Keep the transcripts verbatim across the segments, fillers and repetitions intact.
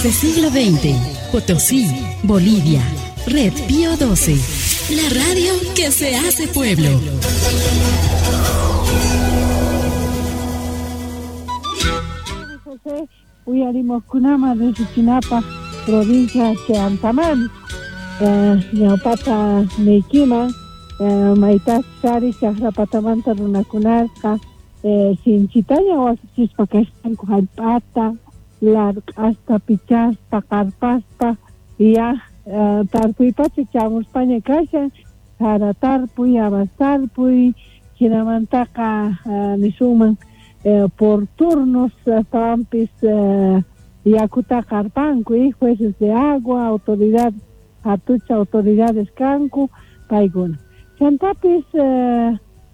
Desde siglo veinte, Potosí, Bolivia. Red Pío doce, la radio que se hace pueblo. José, uyarimoqkunama riqsichinapaq provincia Cheantaman, ñawpata niykiman, maytachus ari chaqrapatamanta runakunasqa sinchitaña wasichispa kashanku hallp'ata, larq'asta pichaspa, qarpaspa, ya tarpuypacha chamuspaña kashan, sara tarpuy, habas tarpuy, hinamantaqa nisunman por turnos astawanpis yakuta qarpanku, jueces de agua, autoridad, hatucha autoridades kanku, paykuna. Chantapis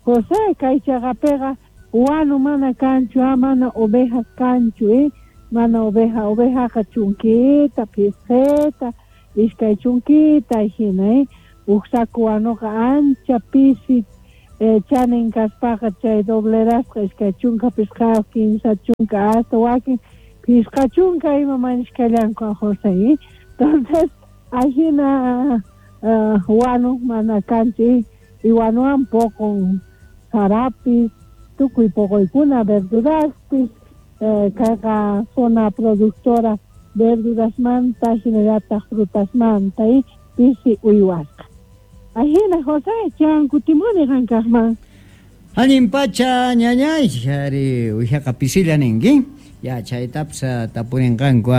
José kay chaqapiqa wanu mana kanchu, mana ovejas kanchu, eh? Mana oveja, ovejaqa chunkita, pisqita, iskay chunkita hina, eh? Uj saco wanuqa ancha pisi eh, chanin kaspaqa chay doblerasqa iskay chunka pisqayuq, kinsa chunka, hasta wakin pisqa chunka ima mañishkallanku José, eh? Entonces, ahina uh, wanu mana kanchu, y wanuwan poqon sarapis, tukuy poqoykuna verduraspis, eh, kayqa zona productora verdurasmanta, hinallataq frutasmanta, y pisi uywasqa. Ahina José, chan kutimuni qankaqman. Allin pacha ñañay, ari uwijaqa pisilla ninki. Ya chaytapas tapurinqanku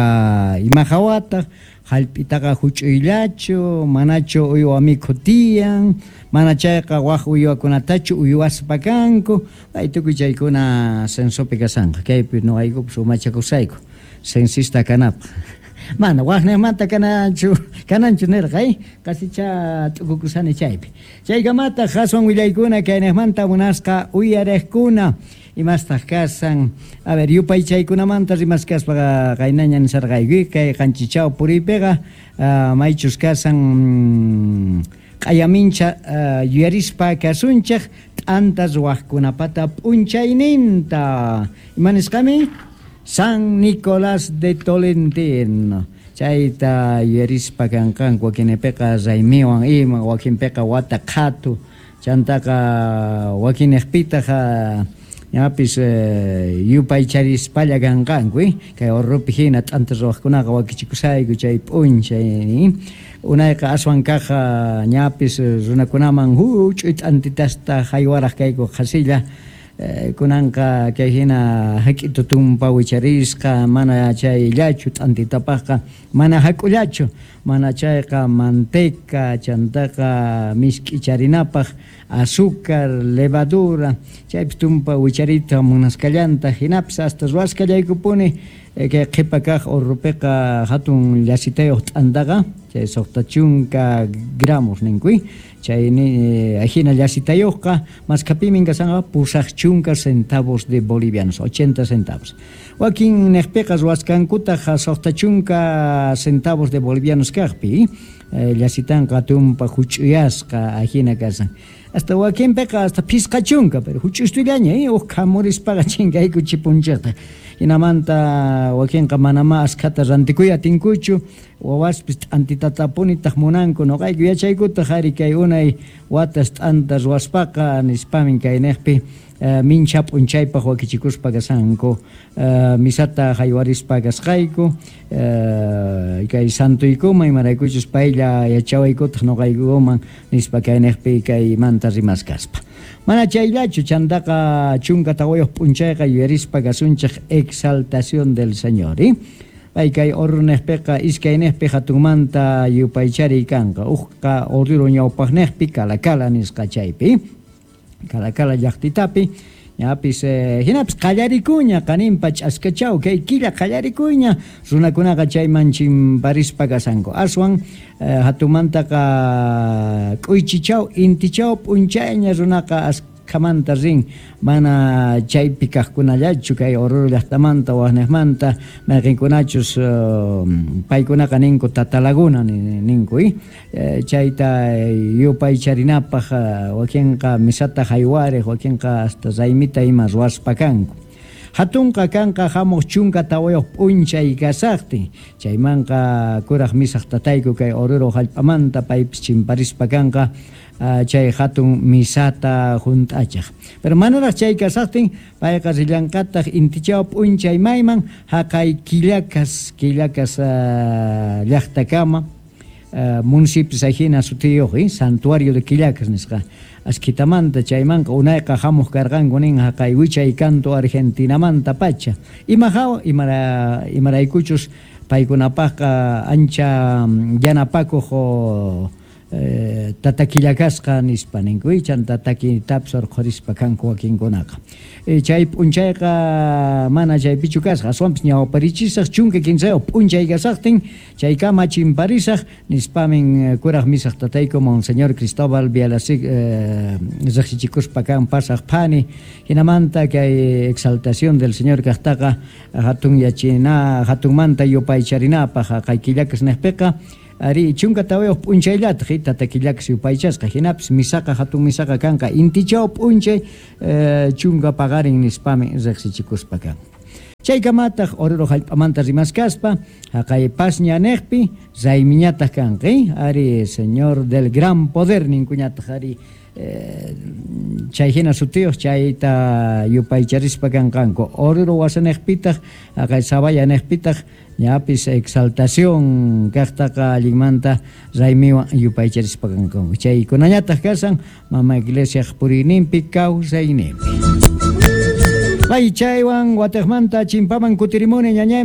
ima hawataq, hallp'itaqa huch'uyllachu, manachu uywa mikhu tiyan, mana chayqa waj uywakunatachu uywaspa kanku, pay tukuy chaykuna censopi kasanqa, kaypi nuqaykupas umachakusayku, censista kanapaq. Mana wajnimanta kananchu, kananchu nirqa, eh? Qasicha t'ukukusani chaypi. Chaykamataq aswan willaykuna kaynejmanta munasqa uyariqkuna. Imastaq kasan, a ver, yupaychaykunamanta rimaskaspaqa qaynaña nisarqayku, kay qanchichaw puriypiqa uh, maychus kasan q'ayamincha uh, yuyarispa kasunchik t'anta ruwaqkunapata p'unchayninta. Ima nisqami? San Nicolás de Tolentino. Chayta yuyarispa kanqanku, wakinpiqa raymiwan ima, wakinpiqa wata qhatu, chantaqa wakinejpitaq ñapis yupaycharispalla kanqanku, eh? Kay urrupi hina t'anta ruwaqkunaqa wakichikusayku chay p'unchay. Unayqa aswan kaq ñapis runakunaman huch'uy t'antitasta haywaraq kayku qhasilla. Kunanqa kay hina hak'itu tumpa wicharisqa, mana chayllachu t'antitapaqqa, mana hak'ullachu, mana chayqa manteca, chantaqa misk'icharinapaq azúcar, levadura, chaypis tumpa wicharita munasqallanta, hinapis hasta ruwasqallaykupuni kay qhipa kaq urrupiqa hatun llasitayuq t'antaqa, chay suqta chunka gramos ninkuy, chay hina llasitayuqqa maskapimin kasanqa pusaq chunka centavos de bolivianos, ochenta centavos. Wakin neqpiqa ruwasqankutaq suqta chunka centavos de bolivianos kaqpi, llasitanqa tumpa huch'uyasqa ahina kasan. Hasta wakinpiqa hasta pisqa chunka, pero huch'ustullaña, eh, uj khamurispaqa chinkayku chipunchikta. Hinamanta wakinqa manamá askhata rantikuy atinkuchu, wawaspis t'antitatapunitaq munanku, nuqayku yachaykutaq ari kay unay watas t'anta ruwaspaqa nispamin kayniqpi uh, mincha p'unchaypaq wakichikuspa kasanku, uh, misata haywarispa kasqayku, uh, kay santuykuman imaraykuchus paylla yachawaykutaq nuqaykuman nispa kayniqpi kaymanta rimaskaspa. Mana chayllachu chantaqa chunka tawayuq p'unchayqa yuyarispa kasunchik exaltación del Señor, eh? Pay kay urruniqpiqa iskayniqpi hatunmanta yupaychariy kanqa, uqqa Oruro ñawpaqniqpi Calacala nisqa chaypi, Calacala llaqtitapi, ñapis eh, hinapis qallarikuña qaninpa ch'askachaw kay killa qallarikuña runakunaqa chayman chimparispa kasanku, aswan eh, hatunmantaqa k'uychichaw intichaw p'unchayña runaqa askhamanta rin, mana chaypi kaqkunallachu kay Oruro llaqtamanta waqniqmanta mayqinkunachus uh, paykunaqa ninku Tatalaguna ninku, eh? Chayta yupaycharinapaq wakinqa misata haywariq, wakinqa hasta raymita ima ruwaspa kanku. Hatunqa kanqa hamuq chunka tawayuq p'unchay kasaqtin, chaymanqa kuraq misaq tatayku kay Oruro hallp'amanta paypis chimparispa kanqa chay hatun misata hunt'achaq. Pero manaraq chay kasaqtin payqa rillanqataq intichaw p'unchay mayman haqay Quillacas, Quillacas llaqtakama municipio ajina sutiyuq, Santuario de Quillacas nisqa. Askitamanta chaymanqa unayqa hamuq karqanku nin haqay wichay canto Argentinamanta pacha. Ima hawa imara imaraykuchus paykunapaqqa ancha yanapakuq eh, tata Quillacasqa nispa ninku, chanta takitapis urqhurispa kanku wakinkunaqa. E, chay p'unchayqa mana chaypichu kasqa, aswanpis ñawparichisaq chunka kinsayuq p'unchay kasaqtin chaykama chimparisaq nispamin kuraq misaq tatayku Monseñor Cristóbal Bialasik eh, riqsichikuspa kan pasaq phani, hinamanta kay exaltación del Señor kaqtaqa hatun yachina hatunmanta yupaycharinapaq haqay Quillacas niqpiqa ari chunka tawayuq p'unchayllataq tata Quillacas yupaychasqa, hinapis misaqa hatun misaqa kanqa intichaw p'unchay eh, chunka paqarin nispami riqsichikuspa kan. Chaykamataq Oruro hallp'amanta rimaskaspa haqay pasña niqpi raymiñataq kanqa, ari Señor del Gran Poder ninkuñataq ari eh, chay hina sutiyuq chayta yupaycharispa kanqanku. Oruro wasaniqpitaq haqay Sabaya niqpitaq ñapis exaltación kaqtaqa allinmanta raymiwan yupaycharispa kanqanku. Chaykunañataq kasan mama iglesiaq puriyninpi kawsayninpi. Bay chaywan wataqmanta chimpaman kutirimuni ñañay.